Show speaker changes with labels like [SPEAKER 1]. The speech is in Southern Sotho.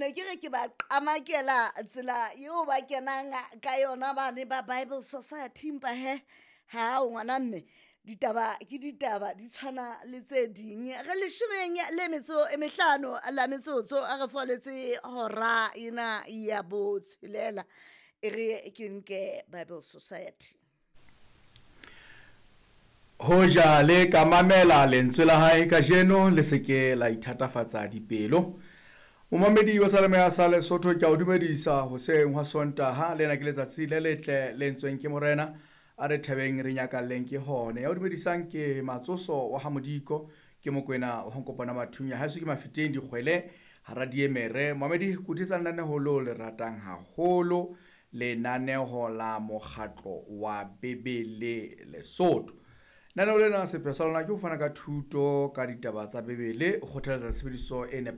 [SPEAKER 1] Ne ke re ke ba qamakela tsela eo ba kenang ka yona bane ba Bible Society, empa he ha o ngwana mme, ditaba ke ditaba, di tshwana le tse ding. Re leshomeng le metso e mehlano la metsotso a re foletse hora ena ya botshelela. E re ke nke Bible Society.
[SPEAKER 2] Hoja le ka mamela lentswe la hae kajeno, le se ke la ithatafatsa dipelo. Momamedi wa Salemeya sa Lesotho, ke a o dumedisa hoseng hwa Sontaha. Lena ke letsatsi le letle le entsweng ke Morena, a re thabeng re nyakalleng ke hone. Ya o dumedisang ke Matsoso wa ha Modiko, ke Mokwena wa Nkopana Mathunya, haeso ke Mafeteng Dikgwele hara diemere. Momamedi, kuthetsa lenaneho leo le ratang haholo, lenaneho la mokgatlo wa Bebele Lesotho. Lenaneo lena sepheo sa lona ke ho fana ka thuto ka ditaba tsa Bebele, ho kgothaletsa tshebediso e.